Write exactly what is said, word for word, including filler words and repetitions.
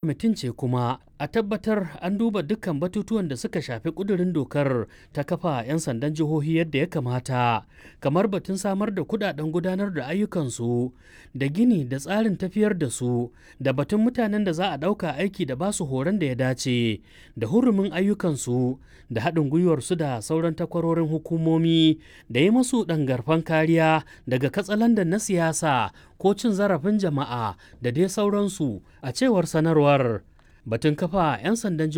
Kwamitin ce kuma a tabbatar an duba dukkan batutuwan da suka shafi ƙudurin dokar ta kafa 'yan sandan jihohi yadda ya kamata, kamar batun samar da kudaden gudanar da ayyukansu da gini da tsarin tafiyar da su da batun mutanen da za a ɗauka aiki da basu horon da ya dace da hurumin ayyukansu da haɗin gwiwarsu da sauran takwarorin hukumomi da yi musu ɗangarfan kariya daga katsalandan na siyasa ko cin zarafin jama'a da dai sauransu, a cewar sanarwar. Batun kafa 'yan sandan